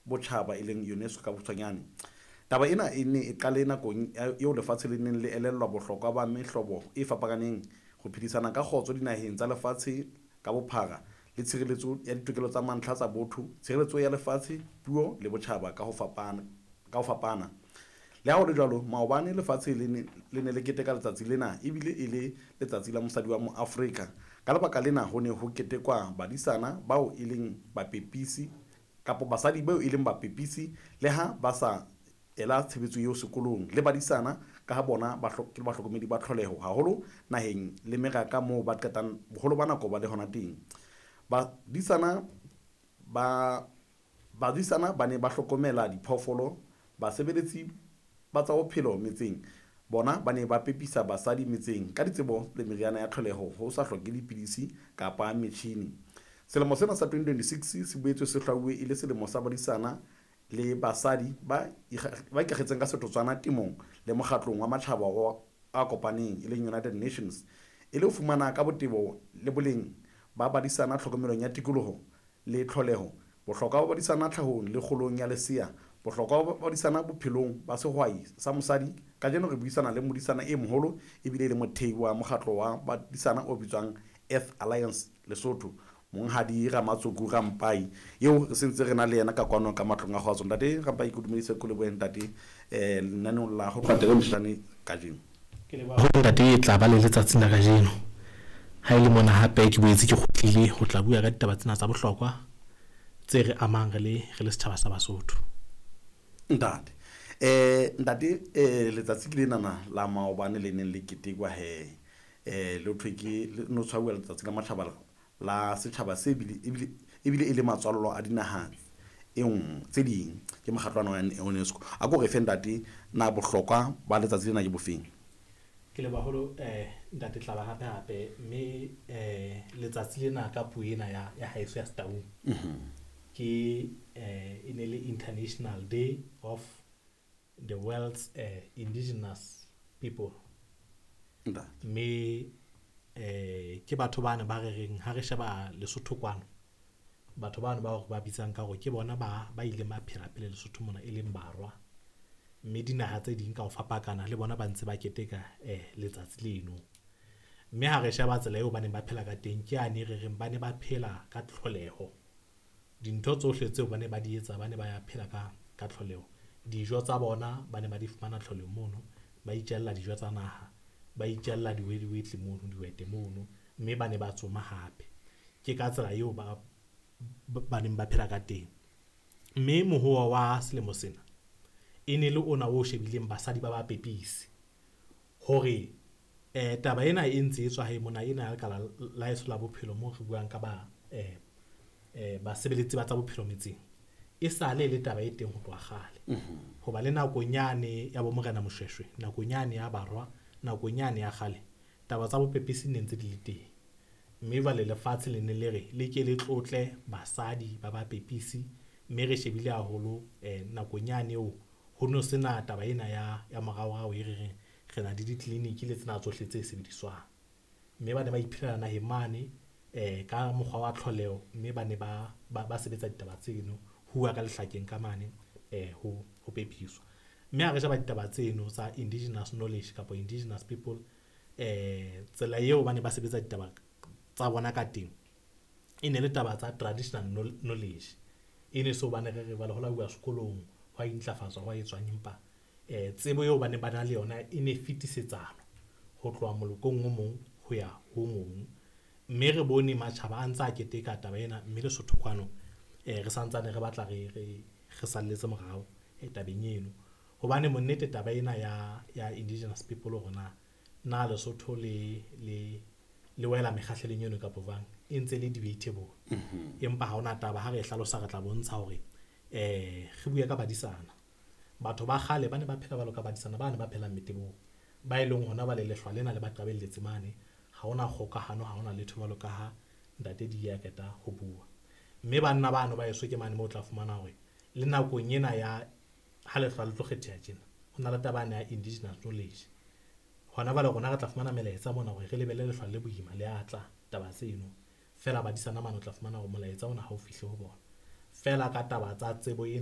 Botjhaba e leng UNESCO ka bokgutshwanyane. Taba ena e ne e qale nakong eo lefatshe le neng le elellwa bohlokwa ba mehlobo e fapakaneng ho phedisana ka kgotso dinaheng tsa lefatshe ka bophara le tshireletso ya ditokelo tsa mantlha tsa botho, tshireletso ya lefatshe, puo le botjhaba ka ho fapana. Le ha ho le jwalo, maobane lefatshe le ne le keteka letsatsi lena ebile e le letsatsi la mosadi wa moAfrika. Ka lebaka lena ho ne ho ketekwa badisana bao e leng bapepisi kapa basadi bao e leng bapepisi le ha ba sa ela tshebetso eo sekolong le badisana ka ha bona ke bahlokomedi ba tlholeho haholo naheng le meraka moo ba qetang boholo ba nako ba le hona teng. Badisana ba ne ba hlokomela diphoofolo, basebeletsi ba tsa bophelo metseng bona ba ne ba pepisa basadi metseng ka ditsebo le meriana ya tlholeho ho sa hloke dipidisi kapa metjhini. Selemo sena sa 2026 se boetse se hlwauwe e le selemo sa badisana le basadi ba ikakgetseng ka setotswana temong le mokgatlong wa matjhaba a kopaneng e leng United Nations, e le ho fumana ka botebo le boleng ba badisana tlhokomelong ya tikoloho le tlholeho, bohlokwa ba badisana tlhahong le kgolong ya lesea, bohlokwa ba badisana bophelong ba sehwai sa mosadi. Kajeno re buisana le modisana e moholo ebile le mothei wa mokgatlo wa badisana o bitswang Earth Alliance Lesotho, Monghadi Ramatsoku Rampai, eo re sentse re na le yena ka kwano ka matlong a kgotso. Ntate Rampai, ke dumedise ko lebohe ntate lenaneong la ho tloha Mshane kajeno. Ke leboha hore ntate e tla ba le letsatsing la kajeno. Ha e le mona hape ke boetse ke kgutlile ho tla bua ka ditaba tsena tsa bohlokwa tse re amang re le setjhaba sa Basotho. Ntate ntate letsatsi ke lenana la maobane le neng le ketekwa he le thwe ke no tshwauwa letsatsi la matjhaba la setjhaba se ebile e le matswallo a dinaha tse ding ke mokgatlwana wa UNESCO. A ko re fe ntate na bohlokwa ba letsatsi lena ke bofeng? Ke leboha haholo ntate Tlaba hape hape mme letsatsi lena ka puo ena ya haeso ya Setaung ke e ne le International Day of the World's Indigenous People. Mme ke batho bana ba re reng ha re sheba Lesotho kwano, batho bana ba ba bitsang ka hore ke bona ba ileng ba phela pele Lesotho mona e leng barwa, mme dinaha tse ding ka ho fapakana le bona ba ntse ba keteka letsatsi leno. Mme ha re sheba tsela eo ba neng ba phela ka teng, ke ane re reng ba ne ba phela ka tlholeho. Dintho tsohle tseo ba ne ba di etsa ba ne ba ya phela ka tlholeho. Dijo tsa bona ba ne ba di fumana tlholeho mono, ba itjella dijo tsa naha, ba itjella diwediwetle mono, diwete mono, mme ba ne ba tsoma hape. Ke ka tsela eo ba neng ba phela ka teng. Mme mohoa wa selemo sena e ne le ona o shebileng basadi ba bapepisi hore taba ena e ntse e tswa hae mona ena ya lekala la heso la bophelo moo re buang ka ba basebeletsi ba tsa bophelo metseng, e sale le taba e teng ho tloha kgale. Hoba le nakong yane ya bo Morena Moshweshwe, nakong yane ya barwa, nakong yane ya kgale, taba tsa bopepisi ne ntse di le teng. Mme jwale lefatshe le ne le re le ke le tlotle basadi ba bapepisi, mme re shebile haholo nakong yane eo ho no sena taba ena ya moraorao e re reng re na le ditleliniki le tsena tsohle tse sebediswang. Mme ba ne ba iphelela naheng mane ka mokgwa wa tlholeho, mme ba ne ba sebetsa ditaba tseno huwa ka lehlakeng ka mane ho pepiswa. Mme ha re sheba ditaba tseno tsa indigenous knowledge kapa indigenous people, tsela eo ba ne ba sebetsa ditaba tsa bona ka teng e ne le taba tsa traditional knowledge. E ne so bane re re jwale ho la uwa sekolong ho a intlafatswa ho a etswang, empa tsebo eo ba ne ba na le yona e ne fetisetsana ho tloha molokong o mong ho ya ho mong. Mme re bone matjhaba a ntse a keteka taba ena, mme Lesotho kwano re santsane re batla re salletse morao tabeng eno. Hobane monnete taba ena ya indigenous people hore na Lesotho le wela mekgahlelong eno kapa jwang, e ntse le debatable. Empa ha hona taba, ha re e hlalosa re tla bontsha hore re bue ka badisana. Batho ba kgale ba ne ba phela jwalo ka badisana ba ne ba phelang metebong, ba e leng hona ba le lehlwa lena le ba qabelletse mane. Ha hona kgokahano, ha hona letho jwalo ka ha ntate di ya qeta ho bua. Mme banna bano ba eso ke mane moo o tla fumana hore le nakong ena ya ha lehlwa le tlo kgetheha tjena, ho na le taba ya indigenous knowledge. Hona jwale rona re tla fumana melaetsa mona hore re lebelle lehlwa le boima le atla taba tseno. Feela badisana mane o tla fumana hore molaetsa ona ha o fihle ho bona. Feela ka taba tsa tsebo ena